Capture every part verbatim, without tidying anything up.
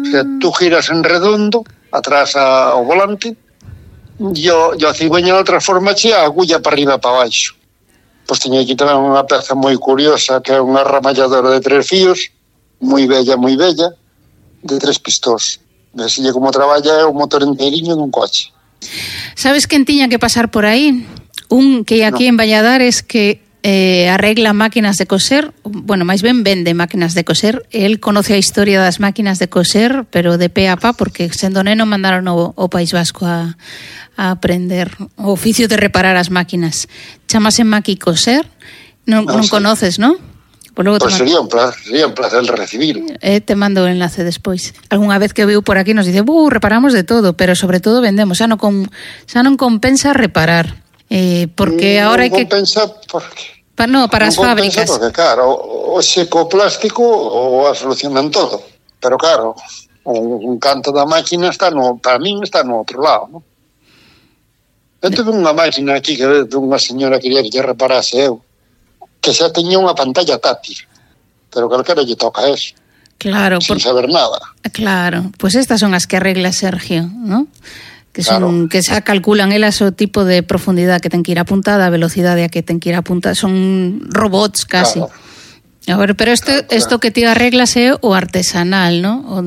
O sea, tú giras en redondo, atrás ao volante, e o, e o cigüeñal transformache a agulla para arriba e para baixo. Pois teño aquí tamén unha peza moi curiosa, que é unha ramalladora de tres fíos, moi bella, moi bella, de tres pistóns. Vesille como traballa é o motor enteriño dun coche. Sabes quen tiña que pasar por aí? Un que aquí no. en Valladares que eh, arregla máquinas de coser, bueno, máis ben vende máquinas de coser. El conoce a historia das máquinas de coser, pero de pe a pa, porque sendo neno mandaron o, o País Vasco a, a aprender o oficio de reparar as máquinas. Chamase Maqui Coser. Non, no, non sí. conoces, non? Pues pues sería un placer, sería un placer recibir. Eh, te mando o enlace despois. Algúnha vez que viu por aquí nos dice, "Uh, reparamos de todo, pero sobre todo vendemos, xa non con, xa non compensa reparar." Eh, porque non agora hai que compensa porque pa, no, para non as fábricas. Porque claro, o secoplástico o a solucionan todo. Pero claro, un canto da máquina está no, para min está no outro lado, ¿no? Eu tuve unha máquina aquí que unha señora quería que lle reparase eu, que xa teña unha pantalla táctil, pero calquera lle toca eso. Claro, sin por... saber nada. Claro, pois pues estas son as que arregla Sergio, ¿no? Que son claro. que xa calculan elas o tipo de profundidade que ten que ir apuntada, a velocidade a que ten que ir apuntada, son robots casi. Claro. A ver, pero isto claro, claro. que ti arreglas é o artesanal, ¿no? O...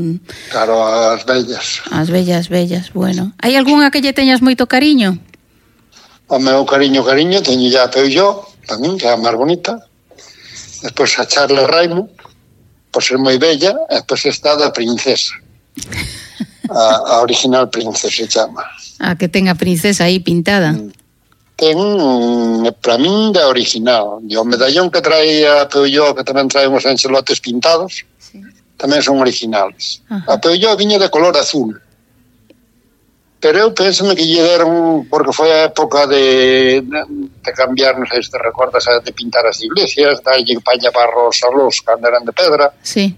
Claro, as bellas. As bellas, bellas, bueno. Hai algunha que lle teñas moito cariño? O meu cariño, cariño, teño ya a Peugeot, tamén, que é a máis bonita. Despois a Charles Raimo, por ser moi bella, e despois está da Princesa. A, a original Princesa se chama. A que ten a princesa aí pintada. Ten, para min, da original. E o medallón que trae a Peugeot, que tamén trae uns enxelotes pintados, sí. tamén son originales. Ajá. A Peugeot viña de color azul. Pero eu penso que lle deron, porque foi a época de, de cambiar, non sei se te recordas, de pintar as iglesias, darlle paña barros a los cando eran de pedra. Sí.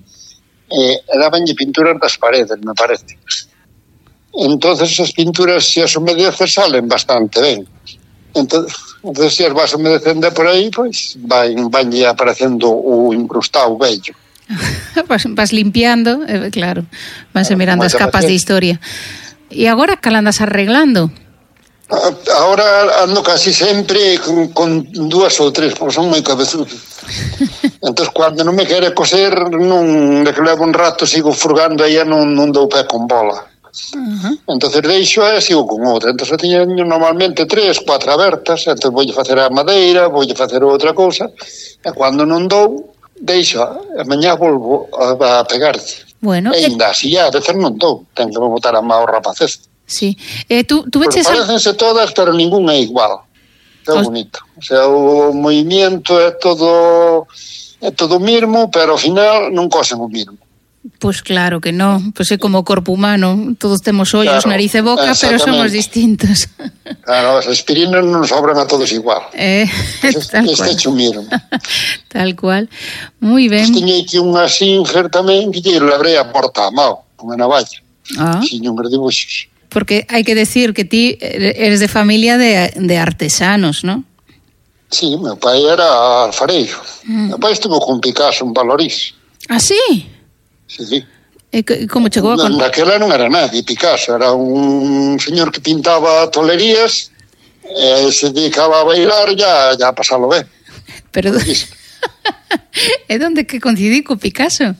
Eh, e dabanlle pinturas das paredes, me parece. Entonces as pinturas, se as humedeces, salen bastante ben. Entonces, entonces se as vas humedecendo por aí, pois van, vanlle aparecendo o incrustado vello. vas, vas limpiando, eh, claro, vanse mirando as capas de historia. E agora cal andas arreglando? Agora ando casi sempre con, con dúas ou tres, porque son moi cabezudos. Entón, cando non me quere coser, non, de que levo un rato, sigo furgando aí e non, non dou pé con bola. Uh-huh. Entón, deixo e sigo con outra. Entón, eu teño normalmente tres, cuatro abertas, entón voulle facer a madeira, voulle facer outra cousa, e cando non dou, deixo, e mañá volvo a, a pegarlle. Bueno, e ainda así, a veces non dou, ten que me botar a má o rapacez. Sí. Eh, tú, tú veches a... Parecense todas, pero ninguna é igual. É Os... bonito. O sea, o movimiento é todo é todo mismo, pero ao final non cosen o mismo. Pois pues claro que non, pois pues é como o corpo humano, todos temos ollos, claro, nariz e boca, pero somos distintos. Claro, as aspirinas non sobran a todos igual. Eh, pues tal este cual. Este mismo. Tal cual. Moi ben. Pues teño aquí unha Singer tamén que lle labrei a porta a mao, con a navalla. Ah. Sin uns dibuixos. Porque hai que decir que ti eres de familia de, de artesanos, ¿no? Sí, meu pai era alfareiro. Mm. Meu pai estuvo con Picasso en Valorís. Ah, sí? Sí, sí. E como chegou a... Con... Naquela non era nadie, Picasso. Era un señor que pintaba tolerías, e se dedicaba a bailar, ya, ya a pasalo ben. Pero... é onde que coincidí co Picasso?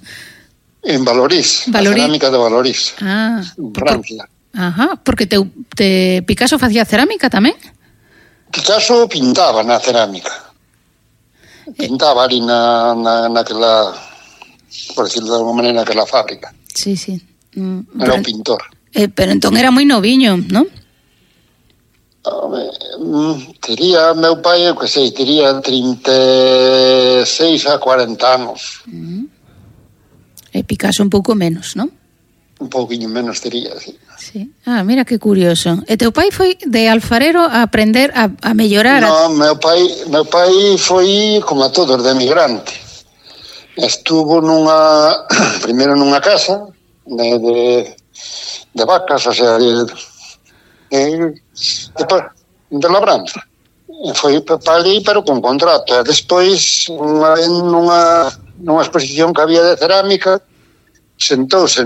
En Valorís, Valorís. A cerámica de Valorís. Ah. En Francia. Por... Ajá, porque te, te Picasso facía cerámica tamén? Picasso pintaba na cerámica. Pintaba ali na, na, naquela, por decirlo de alguma maneira, naquela fábrica. Sí, sí. Mm, era pero, un pintor. Eh, pero entón era moi noviño, non? Uh, tería, meu pai, eu que sei, tería trinta e seis a cuarenta anos. Mm. E Picasso un pouco menos, non? Un pouquinho menos tería, sí. Sí. Ah, mira que curioso. E teu pai foi de alfarero a aprender a, a mellorar? No, a... meu pai, meu pai foi como a todos, de emigrante. Estuvo nunha, primeiro nunha casa de, de, de vacas, o sea, de, de, de, de labranza. E foi para ali, pero con contrato. E despois, unha, nunha, nunha exposición que había de cerámica, sentouse